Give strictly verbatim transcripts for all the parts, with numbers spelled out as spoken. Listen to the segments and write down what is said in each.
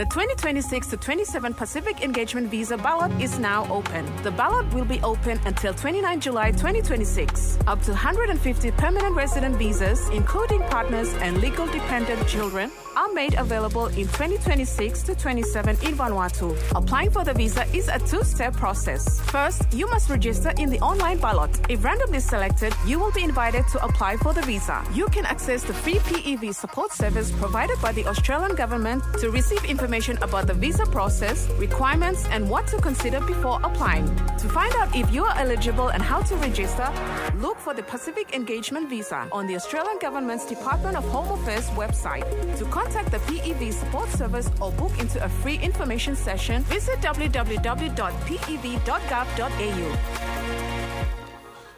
The twenty twenty-six to twenty-seven Pacific Engagement Visa ballot is now open. The ballot will be open until twenty-nine July twenty twenty-six. Up to one hundred fifty permanent resident visas, including partners and legal dependent children, are made available in twenty twenty-six to twenty-seven in Vanuatu. Applying for the visa is a two-step process. First, you must register in the online ballot. If randomly selected, you will be invited to apply for the visa. You can access the free P E V support service provided by the Australian government to receive information about the visa process, requirements, and what to consider before applying. To find out if you are eligible and how to register, look for the Pacific Engagement Visa on the Australian Government's Department of Home Affairs website. To contact the P E V support service or book into a free information session, visit w w w dot p e v dot gov dot a u.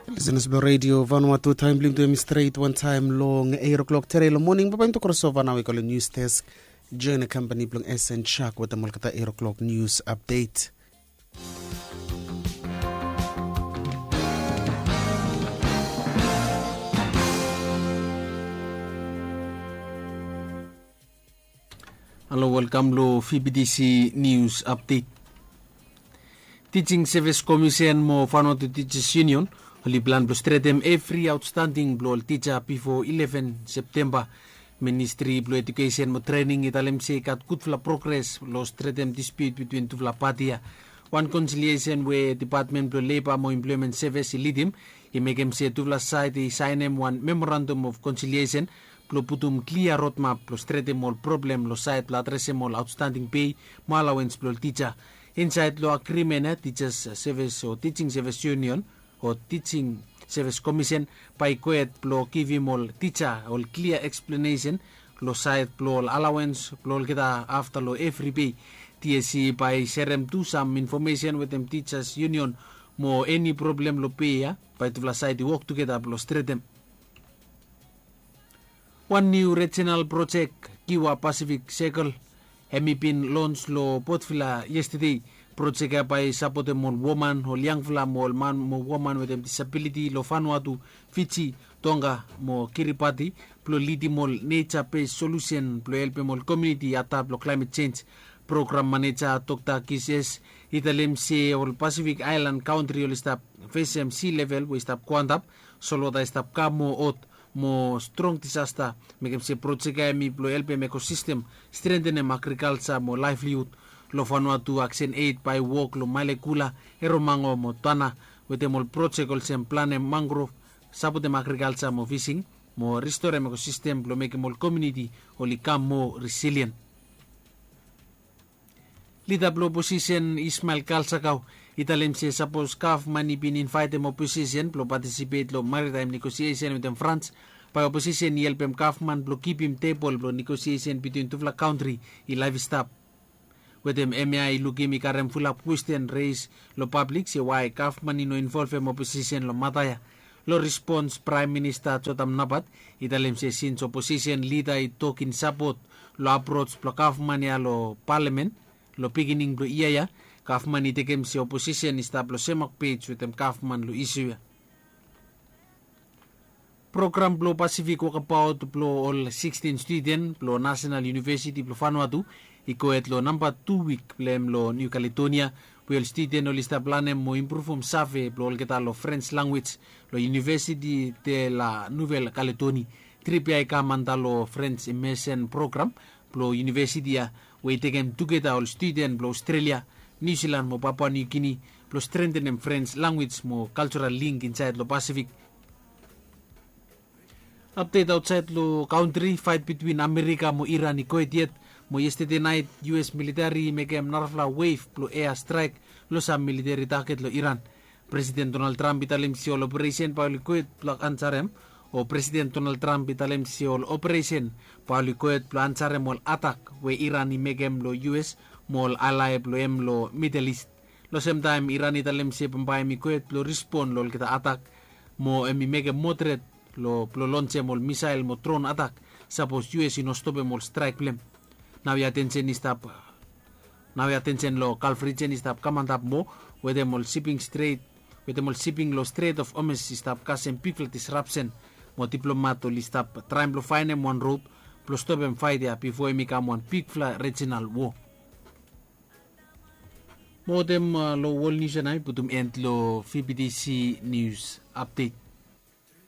Listeners blong Radio Vanuatu, taem blong yumi tu hemi stret wantaem long eight o'clock tere long moning. Bambae yumi tu krosova nao i go long news desk. Join the company blong S N Chuck wetem olgeta eight o'clock news update. Halo, welkam long V B T C News Update. Teaching Service Commission mo Vanuatu Teachers Union oli plan blong stretem evri outstanding blong ol tija bifo eleven Septemba. Ministri blong Edukesen mo Trening i talem se i gat gudfala progres long stretem dispiut bitwin tufala pati ya. Wan konsiliesen we Depatmen blong Leba mo Emploemen Sevis i lidim i mekem se tufala saed i saenem wan memorandum of konsiliesen blong putum klia rodmap blong stretem ol problem long saed blong adresem ol aotstanding pei mo alawens blong ol tija. Insaed long agrimen ya, Tijas Sevis o Teaching Sevis Union o Teaching Sevis Komisen bae i gohed blong givim ol tija ol klia eksplenesen long saed blong ol alawens blong olgeta afta long evri pei. T S C bae i serem tu sam infomesen wetem Tijas Union mo eni problem long pei ya bae tufala saed i wok tugeta blong stretem. Wan niu rejinal projek, Kiwa Pacific Circle, hemi bin lons long Port Vila yestede. Projek ya bae i sapotem ol woman, ol yangfala mo ol man mo woman wetem disabiliti long Vanuatu, Fiji, Tonga mo Kiribati blong lidim ol neja bes solusen blong helpem ol komuniti i adap long klaemet jenj. Program maneja Dokta Kis S i talem se ol Pasifik aelan kantri oli stap fesem si level we i stap go antap, solwota i stap kam moa hot mo strong disasta. Mekem se projek ya hemi blong helpem ekosistem, strentenem agrikalja mo laevlihud. Long Vanuatu Aksen Eid bae i wok long Malekula, Eromango mo Tana wetem ol projek olsem planem mangrov, sapotem agrikalja mo fising mo ristorem ekosistem blong mekem ol komuniti oli kam moa risilien. Lida blong oposisen Ismael Kalsakau i talem se sapos gavman i bin invaetem oposisen blong patisipet long maritaem negosiesen wetem Frans, bae oposisen i helpem gavman blong kipim tebol blong negosiesen bitwin tufala kantri i laef i stap. Wetem hemia i lukim i karem fulap kwesten reis long pablik se wae gavman i no involvem oposisen long mata ya. Long respons Praem Minista Jotam Napat i talem se sins oposisen lida i tok in sapot long aproj blong gavman ya long palamen long begining blong yia ya, gavman i tekem se oposisen i stap long semak pej wetem gavman long isu ya. Program blong Pasifik Wokabaot blong ol sikstin studen blong Nasenal Univesiti blong Vanuatu i gohed long namba tu wik blong hem long Niu Kaledonia, we ol studen oli stap lanem mo impruvum save blong olgeta long Frens lanwis long Univesiti de la Nuvel Kaledoni. Trip ya i kam anta long Frens Imesen Program blong univesiti ya, we i tekem tugeta ol studen blong Aostrelia, Niu Silan mo Papua Niu Gini blong strentenem Frens lanwis mo kaljoral link insaed long Pasifik. Apdet aotsaed long kantri, faet bitwin Amerika mo Iran i gohed yet, mo yestede naet U S militeri i mekem narafala wef blong ea straek long sam militeri taget long Iran. Presiden Donald Trump i talem se ol operesen bae oli gohed blong ansarem, o Presiden Donald Trump i talem se ol operesen bae oli gohed blong ansarem ol atak we Iran i mekem long U S mo ol alae blong hem long Midel Ist. Long semtaem Iran i talem se bambae hem i gohed blong rispon long olgeta atak, mo hem i mekem moa tret long blong lonsem ol misael mo dron atak sapos U S i no stopem ol straek blong hem. Naoia tensen i stap Naoia tensen long Galf rijen i stap kam antap moa, wetem ol siping stret, wetem ol siping long Strait of Hormuz i stap kasem bigfala disrapsen, mo diplomat oli stap traem blong faenem wan rod blong stopem faet ya bifo hem i kam wan bigfala rejinal wo. Mo wetem long wol nius ya nao i putum end long fibitisi nius apdet.